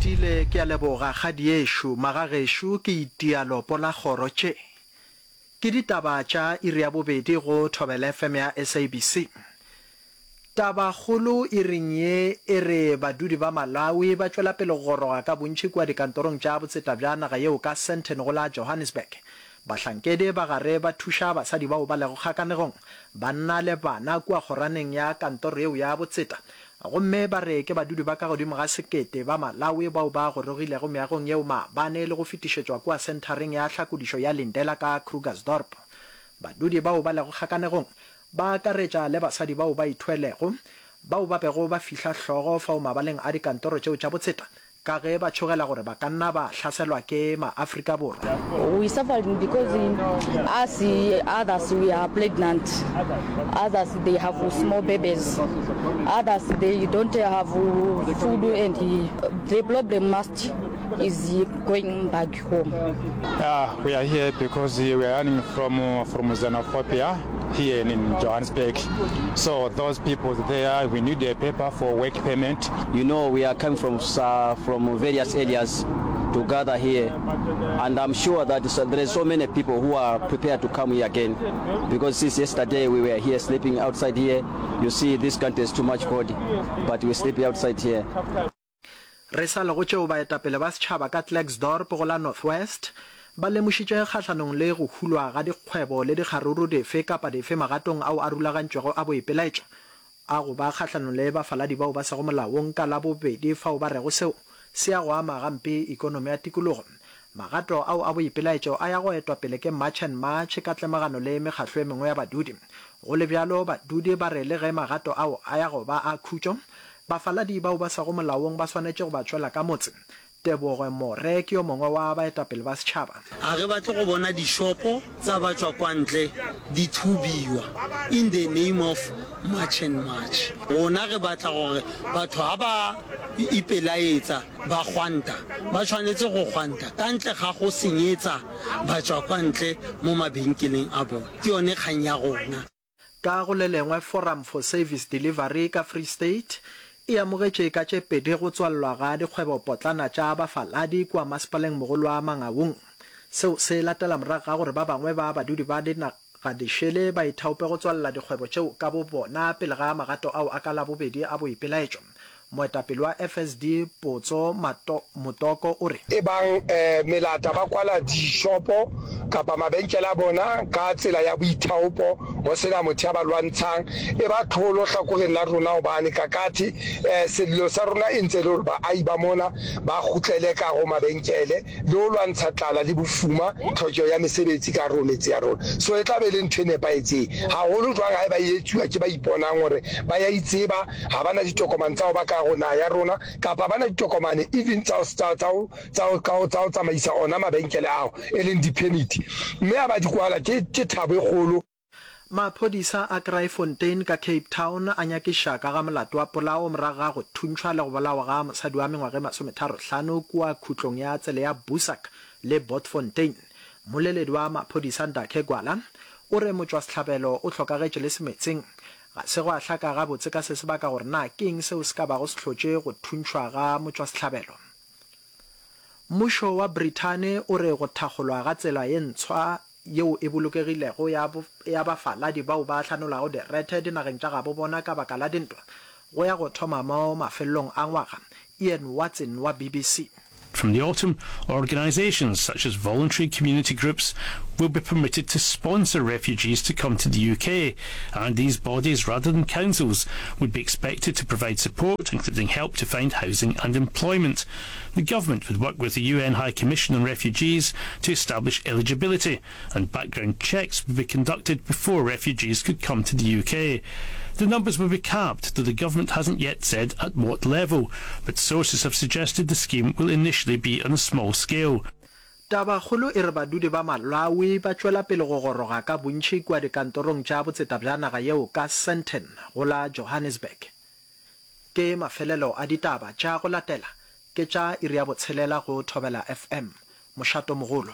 Retile, Ke a leboga kgadiešo. Magagešo ke itia lopo la kgoro tše. Ke ditaba tša iri ya bobedi go Thobela FM ya SABC. Tabakgolo iring ye e re badudi ba Malawi ba tšwela pele go goroga ka bontši kua dikantorong tša botseta bja naga yeo ka Sandton go la Johannesburg. Bahlankedi ba gare ba thuša basadi bao ba lego kgakanegong, banna le bana kua kgoraneng ya kantoro yeo ya botseta gomme ba re ke badudi ba ka godimo ga sekete ba Malawi bao ba gorogilego meagong yeo maabane le go fetišetšwa kua senthareng ya hlakodišo ya Lindela ka Krugersdorp. Badudi bao ba lego kgakanegong ba akaretša le basadi bao ba ithwelego bao ba bego ba fihla hlogo fao mabaleng a dikantoro tšeo tša botseta ka ge ba tšhogela gore ba ka nna ba hlaselwa ke ma-Afrika Borwa. We suffering because us others we are pregnant, others they have small babies, others they don't have food and the problem must is going back home. Yeah, we are here because we are running from from xenophobia here in Johannesburg. So those people there, we need a paper for work permit. You know we are coming from from various areas to gather here and I'm sure that there is so many people who are prepared to come here again because since yesterday we were here sleeping outside here. You see this country is too much cold but we sleep outside here. Re sa le go tšeo baetapele ba setšhaba ka Klerksdorp go la North West ba lemošitše kgahlanong le go hulwa ga dikgwebo le dikgaruru dife kapa dife magatong ao a rulagantšwego a boipelaetšo a go ba kgahlanong le bafaladi bao ba sego molaong ka Labobedi fao ba rego seo se ya go ama gampe ikonomi ya tikologo. Magato ao a boipelaetšo a ya go etwa pele ke March and March ka tlemagano le mekgahlo e mengwe ya badudi. Go le bjalo, badudi ba re le ge magato ao a ya go ba a khutšo, Bafaladi bao ba sego molaong ba swanetše go ba tšwela ka motse. Tebogo More ke yo mongwe wa baetapele ba setšhaba. Ga re batle go bona dishopo tsa batšwa kwa ntle di thubiwa in the name of March and March. Rona re batla gore batho ha ba ipelaetsa ba gwanta, ba tshwanetse go gwanta ka ntle ga go senyetsa batšwa kwa ntle mo mabenkeleng a bona. Ke yone kgang ya rona. Ka go le lengwe, Forum for Service Delivery ka Free State e amogetše ka tše pedi go tswalelwa ga dikgwebopotlana tša bafaladi kua masepalengmogolo wa Mangaung. Seo se latela morago ga gore ba bangwe ba badudi ba dinagadišele ba ithaope go tswalela dikgwebo tšeo ka bobona pele ga magato ao a ka Labobedi a boipelaetšo. Moetapele wa FSD Potso Motoko o re. Ebang melata ba kwala dishopo kapa mabenkele a bona ka tsela ya boithaopo go se na motho ya ba lwantshang, e ba tlholo hlakoreng la rona hobane kakathe sello sa rona e ntse e le hore baahi ba mona ba kgutlele ka go mabenkele le ho lwantsha tlala le bofuma, tlhokeho ya mesebetsi ka hare ho metse ya rona. So e tla be e le ntho e nepahetseng haholo jwang haeba e etsuwa ke ba iponang hore ba ya itseba, Ga ba na ditokomane tsa go ba ka go naga ya rona, kapa ba na ditokomane even tsa, tsa, tsa, tsa, tsa, tsa go tsamaisa ona mabenkele ao, e leng di-permit. Mme ha ba di kwala, ke, ke thabo e kgolo. Maphodisa a Kraaifontein ka Cape Town a nyakiša ka ga molato wa polao morago ga go thuntšhwa le go bolawa ga mosadi wa mengwaga e masometharohlano kua khutlong ya tsela ya Boesak le Botfontein. Mmoleledi wa maphodisa Ndakhe Gwala o re motšwasehlabelo o hlokagetše le semetseng. Ga se gwa hlaka gabotse ka se sebaka gore na ke eng seo se ka bago se hlotše go thuntšhwa ga motšwasehlabelo. Mmušo wa Brithani o re go thakgolwa ga tsela ye ntshwa yeo e bolokegilego ya ya bafaladi bao ba hlanolago direthe dinageng tša gabo bona ka baka la dintwa go ya go thoma mo mafelelong a ngwaga. Ian Watson wa BBC. From the autumn, organisations such as voluntary community groups will be permitted to sponsor refugees to come to the UK, and these bodies, rather than councils, would be expected to provide support, including help to find housing and employment. The government would work with the UN High Commission on Refugees to establish eligibility, and background checks would be conducted before refugees could come to the UK. The numbers will be capped, though the government hasn't yet said at what level, but sources have suggested the scheme will initially be on a small scale. Tabakgolo e re badudi ba Malawi ba tšwela pele go goroga ka bontši kua dikantorong tša botseta bja naga yeo ka Sandton go la Johannesburg. Ke mafelelo a ditaba tša go latela ke tša iri ya botshelela go Thobela FM. Mošatomogolo.